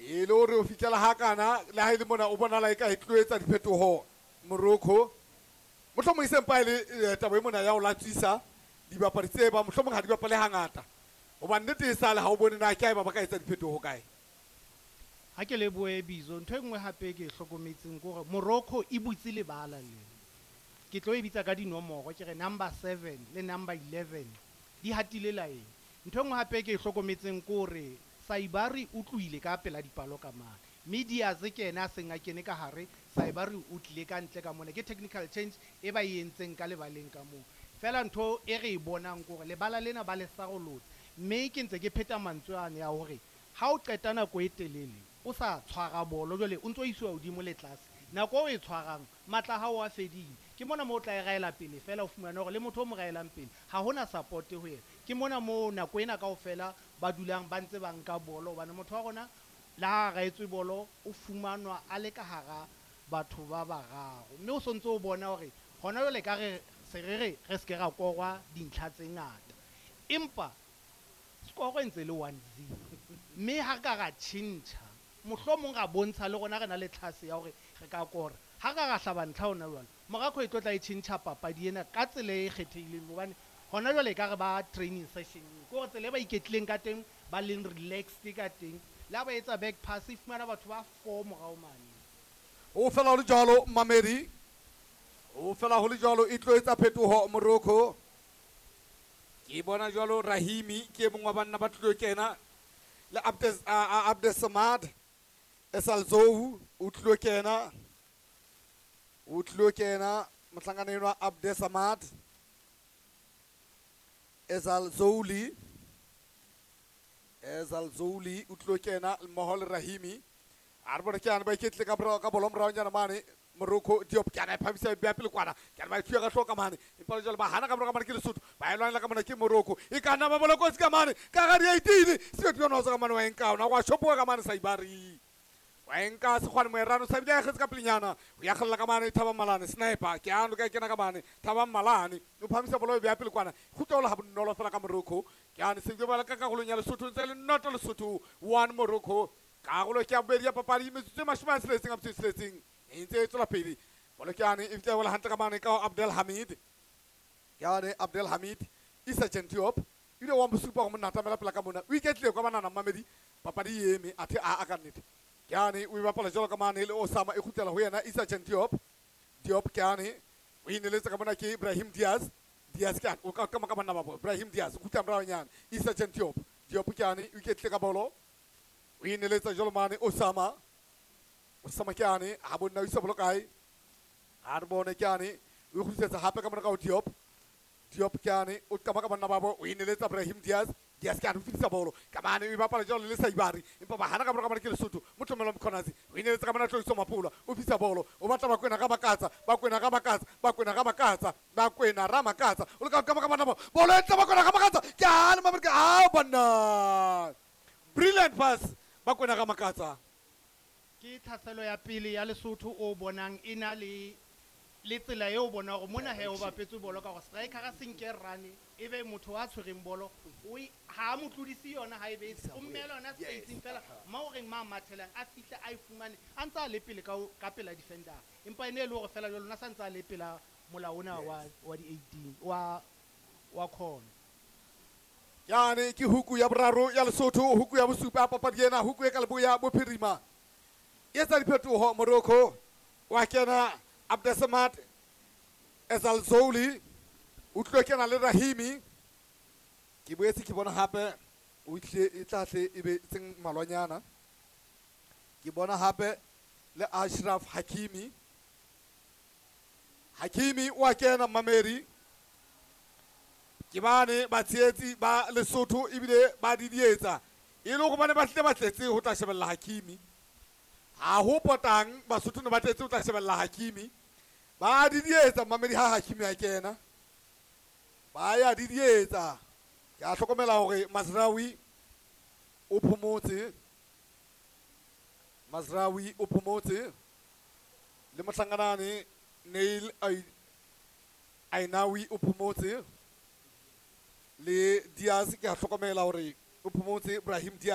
E le hore o fihlela hakana le ha e le mona o bonala e ka e tlo etsa diphetoho Morocco. Mohlomong e sempa e le taba e mona ya ho latswisa dibapadi tse ba mohlomong ha di bapale hangata. Hobane nnete e sale ha o bone na ke ha eba ba ka etsa diphetoho kae. Ha ke lebohe Bizo, ntho e nngwe hape ke e hlokometseng ke hore Morocco e butse lebala lena. Ke tlo e bitsa ka dinomoro ke re number 7 le number 11 di hatile laeng. Ntho e nngwe hape ke e hlokometseng ke hore Saibari o tlohile ka pela dipalo ka mane. Mme Diaz ke ena a seng a kene ka hare, Saibari o tlile ka ntle ka mona. Ke technical change e ba e entseng ka lebaleng ka moo. Fela ntho e re e bonang ke hore lebala lena ba le sarolotse. Mme ke ntse ke pheta mantswe ane a hore ha o qeta nako e telele o sa tshwara bolo jwale o ntso isiwa hodimo le tlase. Nako o e tshwarang matla a hao a fedile. Ke mona moo o tla e raela pele fela o fumane hore le motho o mo raelang pele ha hona support ho yena. Ke mona moo nako ena kaofela ba dulang ba ntse ba nka bolo hobane motho wa rona le ha a raetswe bolo o fumanwa a le ka hara batho ba bararo. Mme o sontse o bona hore hona jwale ka re se re re re se ke ra korwa dintlha tse ngata. Empa score e ntse le 1-0. Mme ha re ka ra tjhentjha mohlomong ra bontsha le rona re na le tlhase ya hore re ka kora. Ha re ka ra hlaba ntlha hona jwale, Morocco e tlo tla e tjhentjha papadi ena ka tsela e kgethehileng hobane hona jwale e ka re ba training session. Ke hore tsela e ba iketlileng ka teng, ba leng relaxed ka teng. Le ha ba etsa back pass e fumana batho ba 4 morao mane. Ho fela ho le jwalo Mamedi. Ho fela ho le jwalo e tlo etsa phetoho Morocco. Ke bona jwalo Rahimi ke mong wa banna ba tlilo kena le Abdesamad Esalzou o tlilo kena. O tlilo kena mohlankana enwa Abdesamad Esalzouli. Esalzouli o tlilo kena mmoho le Rahimi. A re bone ke ane ba iketlile ka morao ka bolo moraonyana mane Morocco Diop ke ana e phamisa e beha pele kwana. Ke ana ba e thuya ka hlooho ka mane. Empa jwale ba hana ka morao ka mane ke Lesotho. Ba e lwanela ka mona ke Morocco. E ka nna ba bola kotsi ka mane. Ka hara di-18. Sebetsi yona o tswa ka mane wa e nka ona. Wa shopoha ka mane Saibari. Wa e nka Sekgwane Moerano. Sa bile a kgetse ka pelenyana. O ya kgalla ka mane Thabang Malane. Sniper. Ke ano ka e kena ka mane. Thabang Malane. O phamisa bolo e beha pele kwana. Kgutla ha bonolo fela ka Morocco. Ke ane se bala ka karolong ya Lesotho ntse le noto Lesotho 1 Morocco. Karolo ke ya bobedi ya papadi metsotso e 60 a metso e 6 e ntse e tswela pele. Bolo ke ane e fihla wela hantle ka mane ka Abdelhamid. Ke ane Abdelhamid Issa Diop ile wa mo supa go monna atamela pela ka mona. O iketlile kwa banana Mamedi papadi e eme athe a ka nnete. Ke ane o e bapala jwalo ka mane le Osama e kgutlela ho yena Issa Diop. Diop ke ane o ineletse ka mona ke Ibrahim Diaz. Diaz ke ane o ka ka banna ba bo Ibrahim Diaz o kgutla moraonyana Issa Diop. Diop ke ane o iketlile ka bolo. O ineletsa jwalo mane Osama. Osama ke ane ha bonna o isa bolo kae. Ha re bone ke ane o kgutlisetsa hape ka mona ka ho Diop. Diop ke ane o qama ka banna ba bo o ineletsa Ibrahim Diaz. Diaz ke ane o fetisa bolo ka mane o e bapala jwalo le Saibari. Empa ba hana ka mora ka mane ke Lesotho. Motlomelo Mkhwanazi o ineletsa ka mona Tloiso Mapula o fetisa bolo o batla Bakwena ka Makatsa. Bakwena ka Makatsa. Bakwena ka Makatsa. Bakwena ra Makatsa o leka ka banna ba bolo e tla Bakwena ka Makatsa. Ke ane Mamerika a banna. Brilliant pass Bakwena ka Makatsa. Ke tlhaselo ya pele ya Lesotho o bonang e na le le tsela eo bona hore mona he o bapetse bolo ka hore striker a se nke run e be motho a tshwereng bolo o ha mo tlodise yona ha ebe o mmela yona spacing fela ma o reng ma mathelang a fihla a e fumane a ntsa le pele ka pela defender empa ene le hore fela jwalo na sa ntsa le pela mola ona wa di 18 wa khona. Yane ke huku ya boraro ya Lesotho, huku ya bosupa papadi ena, huku e ka leboya bophirima. E etsa diphetoho Morocco. Wa kena Abdesamad Esalzouli o tlo kena le Rahimi. Ke boetse ke bona hape o tle e tla tle e be tseng malwanyana. Ke bona hape le Ashraf Hakimi. Hakimi wa kena Mameri. Ke bane batshehetsi ba Lesotho ebile ba didietsa. E le hore bane ba tlile ba tletse ho tla shebella Hakimi. Ha ho potang Basotho ne ba tletse ho tla shebella Hakimi. Ba didietsa Mamedi ha Hakimi a kena. Ba ya didietsa. Ke a hlokomela hore Mazraoui o phomotse. Mazraoui o phomotse. Le mohlanganane Neil Ainawi o phomotse. Le Diaz ke a hlokomela hore o phomotse Ibrahim Diaz.